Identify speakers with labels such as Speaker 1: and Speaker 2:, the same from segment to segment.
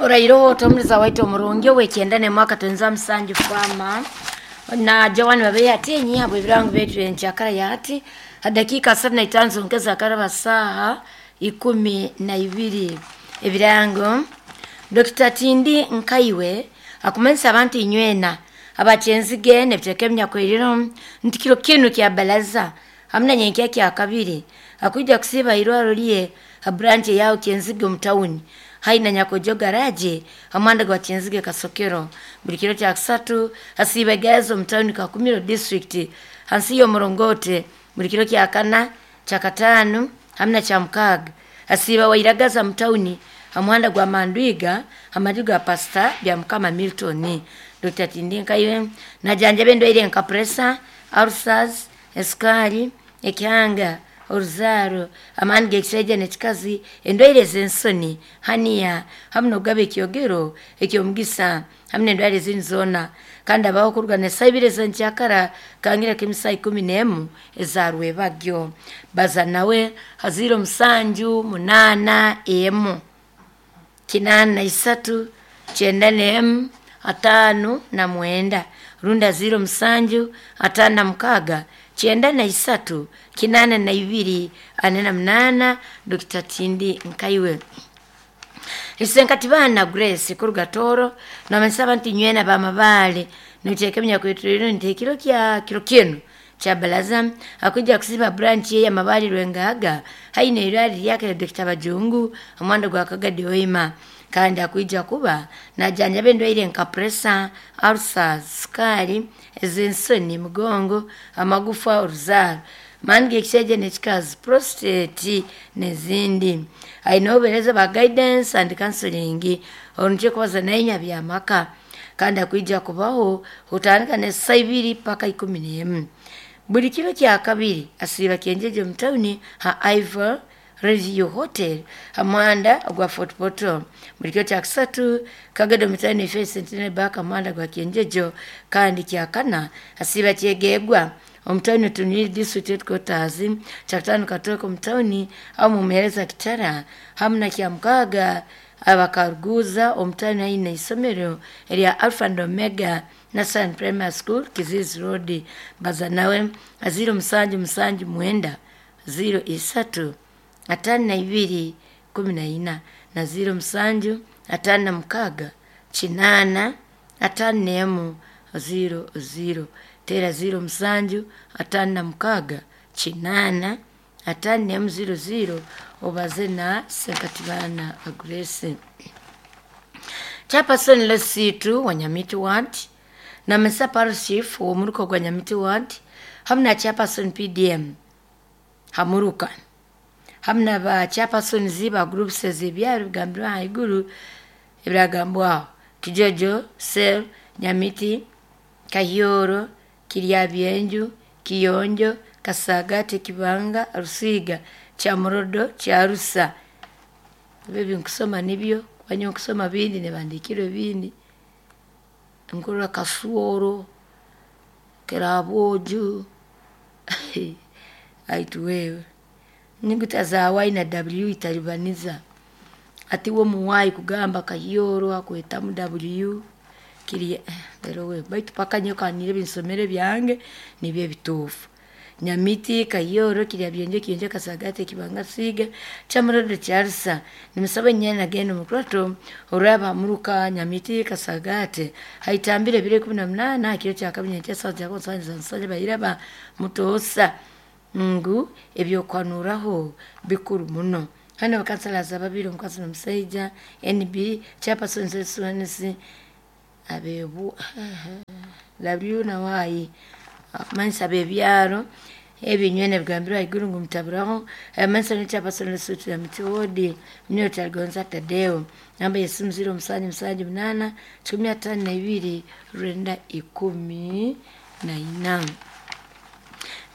Speaker 1: Orairoho otomuliza waitu omurungi ow'ekyenda n'emwaka tonza musanju fama na Joan babeyi ati habwe ebirango byetu enkyakara yati hadakiika 35 zongeza akaraba saaha 12. Ebirango Dr. Tindi Nkaiwe akumanyisa abantu inywena abakyenzige nebiteeka ebinyakwiriro nti kiro kinu kya balaza hamuna nyenkya kya kabiri akwija kusiiba irwaro lye ha branch yaho Kyenzige omu tawuni haina Nyakojo garage hamwanda gwa Kyenzige Kasokero. Buli kiro kya kusatu hasiiba gazo omu tawuni Kakumiro district hansi y'omurongote. Buli kiro kya kana, kya katano hamuna kya mukaaga hasiiba Wairagaza mu tawuni hamuhanda gwa Mandwiga hamaju ga Pastor Byamukama Milton. Dr. Tindi Nkaiwe najanjaba endwaire nka pressure, ulcers, esukari, ekihanga, oruzaaro, amaani g'ekishaija n'ekikazi, endwaire ez'ensoni, haniya, hamu n'okugaba ekyogero eky'omugisa hamu n'endwaire ezindi zoona. Kandi abaho okuruga n'esaaha ibiri ez'enkyakara kangira k'emisaaha 11 eza rwebagyo. Baza nawe ha 0781 83 91 59 rundi 0756 93 82 48. Dr. Tindi Nkaiwe. Isenkatibana Grace kuruga Toro namanyisa abantu inywena bamabale niteeka ebinyakwetulire nti ekiro kya kiro kinu kya balaza akuja kusiba branch ye yamabali Rwengaga haina irwari lyake Dr. Bajungu omwanda gwa Kagadi Hoima. Kandi akuija kuba najanjaba endwaire nka pressure, ulcers, sukari, ez'ensoni, mugongo, amagufa, oruzaaro, amaani g'ekishaija n'ekikazi, prostate n'ezindi. Aine obuheereza bwa guidance and counseling orunikyo kubaza nainya byamaka. Kandi akwija kubaho kutandika n'esaaha ibiri paka 11. Buli kiro kya kabiri asiiba Kyenjeje omu tawuni ha Ivor Review Hotel hamuhanda gwa Fort Portal. Buli kiro kya kusatu Kagado omu tawuni Faith Centenary Bank hamuhanda gwa Kyenjejo. Kandi kya kana asiiba Kyegegwa omu tawuni Tuniri district headquarters. Kyakutaano Katooke omu tawuni aho mumuheereza Kitara hamu na kya mukaaga abakaruguza omu tawuni haine isomero erya Alpha and Omega National Primary School Kizizi Road. Baza nawe 0779 03 52 14 na 07 56 8 51 00. Tera 07 56 8 51 00 obaze na Senkatibana Grace. Chairperson Lesitu wa Nyamiti Ward na Mesa Parish Chief w'omuruka gwa Nyamiti Ward hamu na Chairperson PDM Hamuruka hamu na ba chairpersons ba groups ez'ebyaro bigambirwe ahaiguru ebiragambwaho Kijojo, Sel, Nyamiti, Kahyoro, Kiryabyenju, Kiyonjo, Kasagate, Kibanga, Rusiga, Kyamurodo, Kyarusa. Ebyo nkusoma nibyo kuba nkusoma bindi nibandikirwe bindi nkurora Kasuoro, Kirabwoju aitu wewe nyuguta za Y na W italibaniza ati wo muwayi kugamba Kahyoro akwetamu W kiri lero we baitu paka nyokanire ebinsomere byange nibyo ebituufu. Nyamiti, Kahyoro, Kiryabyenje, Kiyonjo, Kasagate, Kibanga, Siga, Kyamurodo, Kyarusa. Nimusaba nyena nagenda omukurato oraba Muruka, Nyamiti, Kasagate haitambire ebiro 18 kiro kya kabiri nyenkya saaha za nsanja bayiraba mutoosa ngu ebyokwanuraho bikuru muno. Hano abakansalaza babiri omukazi n'omusaija NB chairperson SNC abebu W na Y amansa abebyaro ebinywene bigambirwe ahaiguru ngu mutaburaho amansa ni chairperson Lesotho ya Miti Ward Mnyo Gonza Tadeo namba y'esimu 0778 52 914.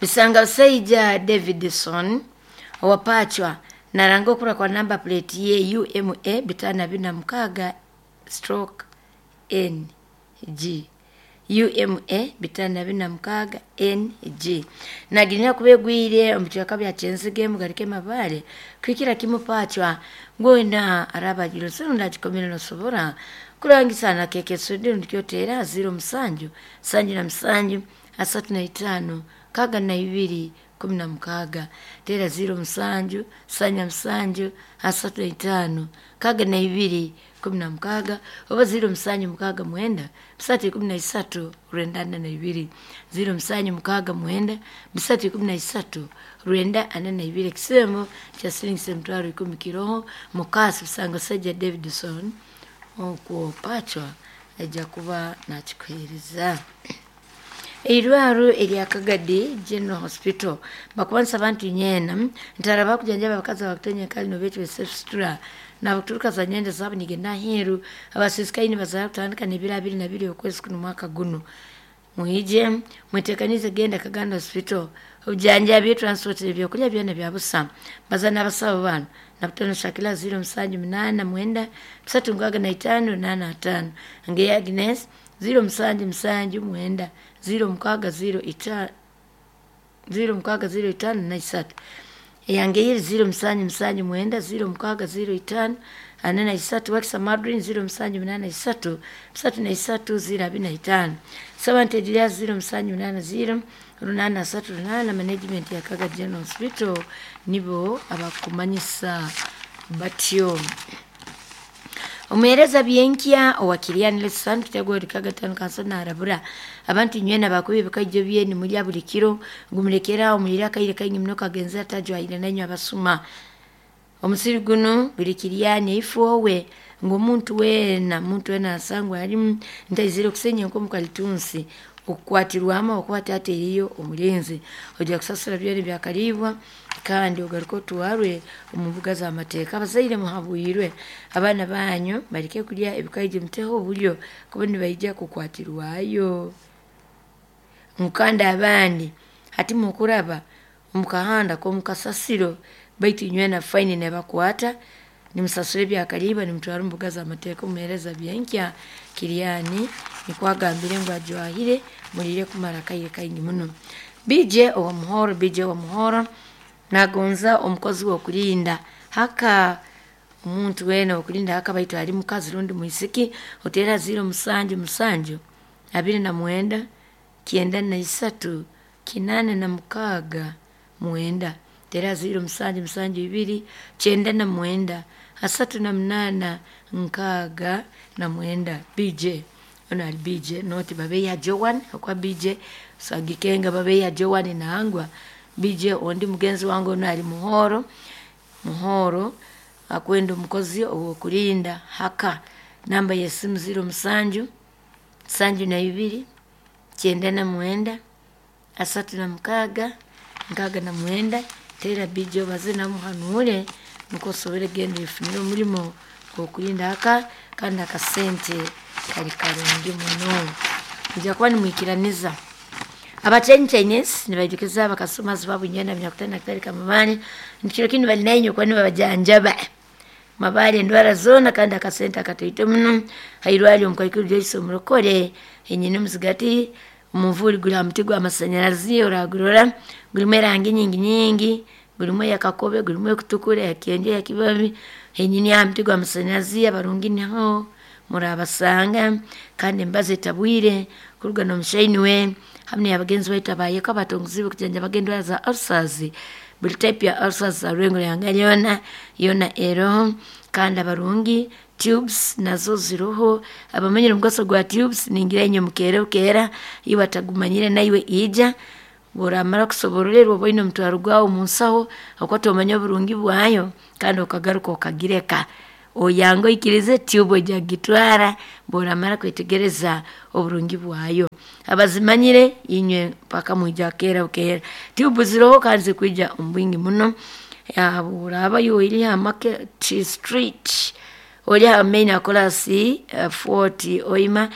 Speaker 1: Bisanga Busaija Davidson owapachwa naranga okura kwa namba plate ye UMA 546 stroke NG UMA 546 NG naginya kubegwire omucweka bya Kyenzige mugarike Mabale kwikira kimu pachwa ngwena arabagiro sirunda kikomere nosobora kurangisana keke sudi ndikyotera 07 77 35 62 16 tera 07 77 35 62 16 oba 07 69 313 942 07 69 313 942 kisemo cha silingi 10,000 kiroho mukasi busango Sajja Davidson okwo pachwa ajja kuba nakikuheereza. Eirwaro erya Kagadi General Hospital bakubanisa abantu nyena ntara bakujanjaba abakazi abakutenya kali nobetwe sefstura nabakuturuka za nyenda zabo nigenda aheeru abasisikaini bazara kutandika n'ebiro 22 okwezi kuno mwaka guno mwije mwetekanize genda Kaganda Hospital obujanjabi transport ebyokulya byona bya busa baza n'abasawo bano nabutono Shakila 0789 365 85 ngeya Agnes 0779 06 05 eyange iri 0779 0605 43 wakisa Madrin 0783 33 025 7 0780 838 management ya Kaga General Hospital nibo abakumanyisa batyo. Omuhereza byenkya owakiriani lesan kitego rikaga tano kansona arabura abantu nywena bakubi bikajjo byeni mulya buli kiro gumulekera omulira kaire kaingi muno kagenza tajwayire nanyo abasuma omusiri guno buli kiriani ifowe ng'omuntu wena muntu wena asangwa ali ntaizire okusenya nkomu kalitunsi okukwatirwamu okuba ateriyo omulinzi ojja kusasula byona byakalibwa kandi ogaruka otwarwe omu mbuga z'amateeka. Abazaire muhabwirwe abaana banyu baleke kulya ebikaije muteho obulyo kuba nibaija kukwatirwayo. Mukanda abandi hati mukuraba omukahanda k'omukasasiro baitu inywena faini nebakwata nimusasura ebyakalibwa nimutwara omu mbuga z'amateeka. Omuheereza byenkya Kiriani nikwagambire ngu ajwahire mulire kumara akaire kaingi muno. BJ owa Muhoro, BJ owa Muhoro nagonza omukozi w'okulinda haka omuntu wena okulinda haka baitu ali mukazi rundi mwisiki otera 07 7 29 93 86 9 tera 07 7 2 99 38 69 BJ ono ali BJ noti babeya Joan okwa BJ sagikenga babeya Joan nangwa BJ ondi mugenzi wange ono ali Muhoro Muhoro akwenda omukozi ow'okulinda haka namba y'esimu 07 72 99 36 69 tera BJ obaze namuhanure nukwo osobole genda oyefunire omulimo gw'okulinda haka kandi akasente kali karungi muno nija kuba nimwikiraniza. Abachenyi Chinese nibaijukiza abakasomazi babu nywena binyakutana kitali kamabani nikiro kinu bali nainyo kuba nibabajanjaba mabale endwara zoona kandi akasente akatoito muno hairwali omukaikuru Joyce omurokore enyine omuzigati omunvuuri guri aha muti gw'amasanyarazi oragurora gurimu erangi nyingi nyingi gurimu eyakakobe gurimu ekutukura eyakenje eyakibabi enyini aha muti gw'amasanyarazi abarungi niho murabasanga kandi embazo etabwire kuruga n'omushaini we hamwe abagenzi baitu abayeko abatonguzi kujanjaba endwara za ulcers buli type ya ulcers za rwengo yanga yona yona eroho kandi abarungi tubes nazo ziroho abamanyire omugaso gwa tubes ningira inye mukere ukera iwe atagumanyire naiwe ija oramara kusobororerwa oba oine omutwaro gwawe omunsaho okwata omanye oburungi bwayo kandi okagaruka okagireka oyanga oikirize tube ojja kugitwara bworamara kwetegereza oburungi bwayo. Abazimanyire inywe mpaka mwija kera ukera tube ziroho kandi zikwija omu bwingi muno oraba ori aha Market Street ori aha main akolasi 40 oima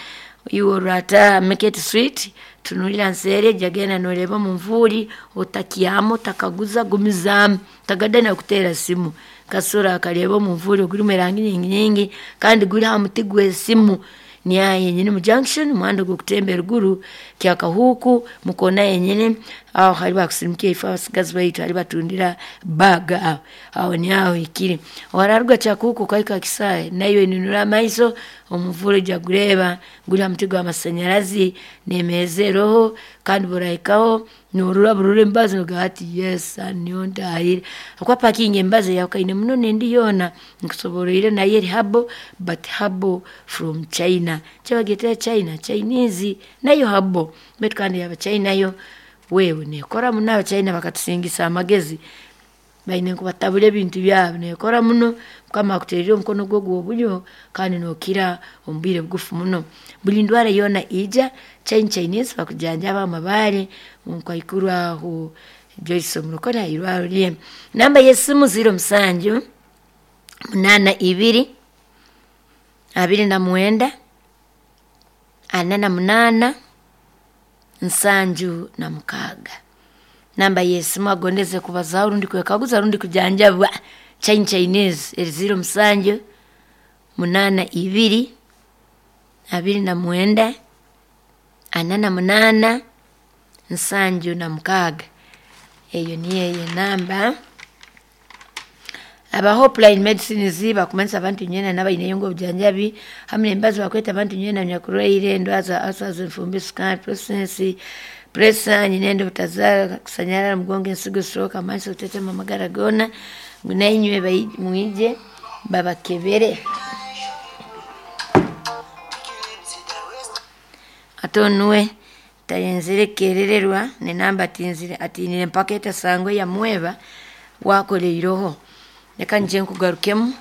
Speaker 1: iwe orata Market Street tunulira nseere jagenda noreeba omunvuuri otakyama otakaguza gumizaamu tagada nakuteera simu kasura akareeba omunvuuri ogurimu erangi nyingi nyingi kandi guri aha muti gw'esimu Niaha yenyini mu junction muhanda gw'okutemba eruguru Kyakahuuku mukona yenyini aho hali bakusirimukia ifo abasigazi baitu hali batundira baga aho aho niaho ikiri wararuga Kyakahuuku okahika Kisaahe nayo inunura amaiso omuvule ojja gureeba guri ha muti gw'amasanyarazi n'emeeza eroho kandi burahikaho norora burora emibazi nogamba ati yes niyo ntahire habwokuba parking emibazi eyahukane muno n'endi yoona nkusoboroire nayo eri herbal but herbal from China kyabagyetera China Chinese nayo herbal baitu kandi ey'Abachina yo wewe neekora muno Abachina bakatusingisa amagezi baine nkubatabura ebintu byabo neekora muno Mukama akutererire omukono gwe ogw'obulyo kandi nookira omu bwire bugufu muno. Buli ndwara yoona ija China Chinese bakujanjaba amabaare nkaikuru aho Joyce Omurokore ha irwarro rye. Namba y'esimu 07 82 29 48 76. Namba y'esimu agondeze kubazaaho rundi kwekaguza rundi kujanjabwa China Chinese eri 07 82 29 48 76. Eyo niyo eyo enamba. Aba Hopeline Medicines bakumanyisa abantu nywena n'abaineyo ngu obujanjabi hamu n'emibazi bakweta abantu nywena nyakurwaire endwara za ulcers, enfumbi, sukari, prostate, pressure, nyinenda obutazaara, kusanyarara, mugongo, ensigo, stroke, amaiso, kutetema amagara goona ngu nainywe mwije babakebere. Ate onuwe tayenzire kukerererwa n'enamba atiinire mpaka etasangwa eyamweba wakora iroho. Leka nyije nkugarukemu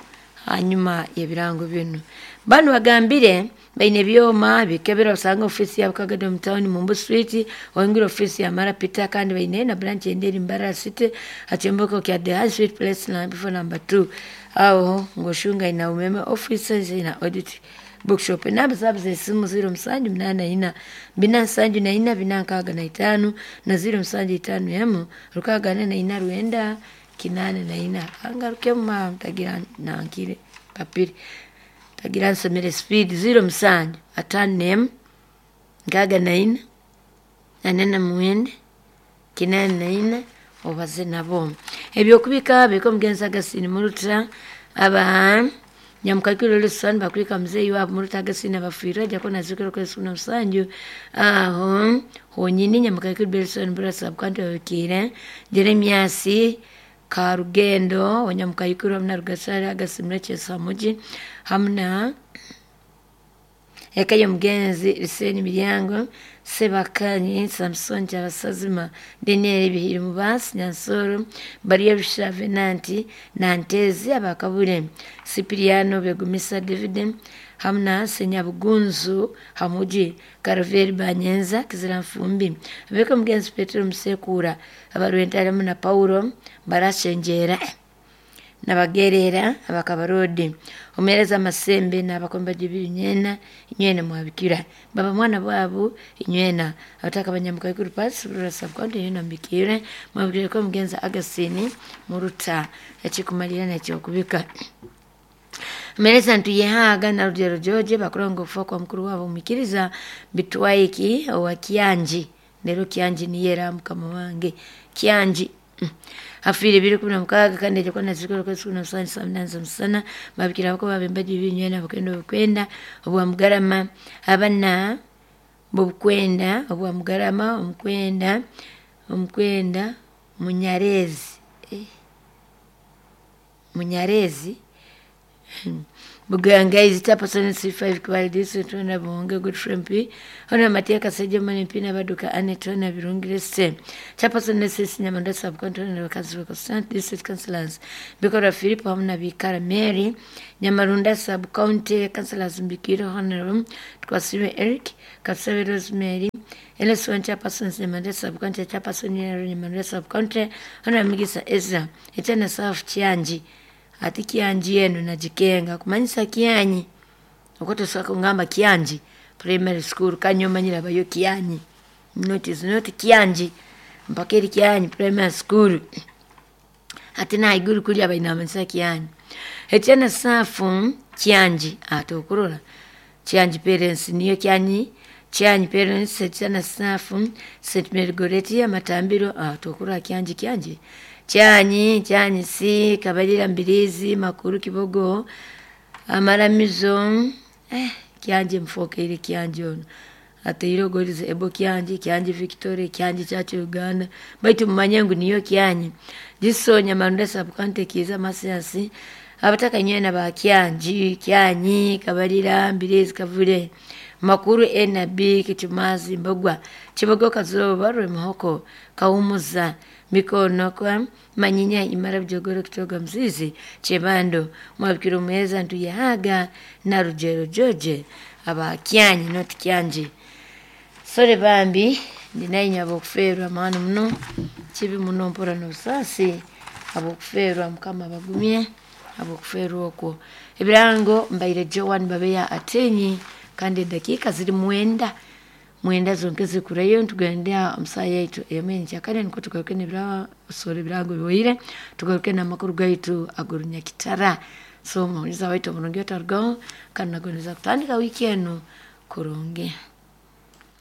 Speaker 1: hanyuma y'ebirango binu. Banu bagambire baine ebyoma bikebera osanga ofiisi yabo Kagadi omu town Mumbu Street oyingira ofiisi ya Mara Peter kandi baine na branch endi eri Mbarara City ha kyombeko kya The High Street Place before number 2 aho ng'oshunga ina umeme offices ina audit bookshop. Enamba zaabo z'esimu 0784 474 465 na 0751 644 984. Angarukemu maama ntagira nankire papire tagira nsomere speed 07 51 64 49 94 obaze nabo. Ebyokubika bika omugenzi Agasini Muruta aba Nyamukakiro Lusan bakulika mzee wabo Muruta Agasini abafiire ajja kuba nazikira okwezi kuno musanju aho honyini Nyamukakiro Belson Burasa Bukanti babikiire Jeremiasi Karugendo Wanyamukayikuru hamwe na Rugasare Agasini Chesamuji hamwe na eka y'omugenzi Liseni Miryango Sebakanyi Samson Kyabasazima Daniel Bihiri Mubasi Nyansoro Bariya Rusha Venanti Nantezi Abakabure Sipiriano Begumisa David hamwe na Senyabugunzu Hamuji Karaveri Banyenza Kizira Nfumbi abeka omugenzi Petero Musekura Abarwentare hamwe na Paulo Barashenjera nabagerera abakabarodi omereza amasembe n'abakomba gibiri nywena mwabikira baba mwana bwabo inywena abataka abanyamukaikuru pasi rurasa bwandi nywena mbikire mwabikire ko mugenza Agasini Muruta ekikumalira n'ekyokubika Meleza ntuyehaga na Rugero George bakurongo kufa kwa mukuru wabo mukiriza bitwaiki owa Kianji lero Kianji niyera mukama wange Kianji afire 2016 kandi ejja kuba nazikora kwezi kuno musanju saa munana z'omusana babikira bako babembaji binywena bakwenda obukwenda obwa Mugarama abana bobukwenda obwa Mugarama omukwenda omukwenda Munyarezi Munyarezi Bugangaizi Chairperson C5 Kibaale District Hon Buhonge Godfrey MP Hon Matia Kasajja Mane MP Nabaduka Annet Hon Birungire C Chairperson SS Nyamanda Sub County Hon Bakazi Constant District Councillors Bikora Philip hamu na Bikara Mary Nyamarunda Sub County Councillors Mbikiro Hon Twasibe Eric Kasabe Rosemary LS1 Chairperson Nyamanda Sub County Chairperson Nyamanda Sub County Hon Migisa Ezra Etena South Chianji ati Kianji yenu najikenga kumanyisa Kianyi okotosaka kungamba Kianji primary school kanyomanyira bayo Kianyi not is not Kianji mpaka eri Kianyi primary school ati na iguru kuli abainamanyisa Kianyi echana safu Kianji ati okurora Kyangi parents niyo Kyanyi, Kyanyi parents St. Safu, St. Mary Goretti, Amatambiro, tukura Kyangi Kyangi. Kyanyi, Kyanyi C, Kabalira Mbirizi, Makuru Kibogo, Amaramizo, Kyangi mfokeire Kyangi ono. Ateire ogorize Ebo Kyangi, Kyangi Victoria, Kyangi Church Uganda. Baitu mumanye ngu niyo Kyanyi. Gisonya Marunda Sub-County Kiiza Masiasi. Abataka nywena ba Kyangi, Kyanyi, Kabalira, Mbirizi, Kavule. Makuru NB, Kichumazi, Mbogwa, Kibogo Kazoba, Rwemuhoko, Kaumuza, Mikono kwa Manyinya, Imara Bijogoro, Kitoga Mzizi, Chebando, Mwabikiro Muheza, Ntuyehaga, na Rugero George, aba Kyanyi, not Kyangi. Sore bambi, ndinaye ab'okuferwa maani muno, kibi muno mpora n'obusaasi, ab'okuferwa Mukama abagumye, ab'okuferwa okwo. Ebirango mbaire Joan Babeya Atenyi, kandi edakiika ziri 9 mwenda zonke zikurayo ntugende omusaha yaitu ey'omu nukwo tugaruke n'ebirasoro ebirango biwaire tugaruke n'amakuru gaitu ag'orunyakitara. So omuhuriza waitu omurungi otarugaho kandi nagondeza kutandika wiiki enu kurungi.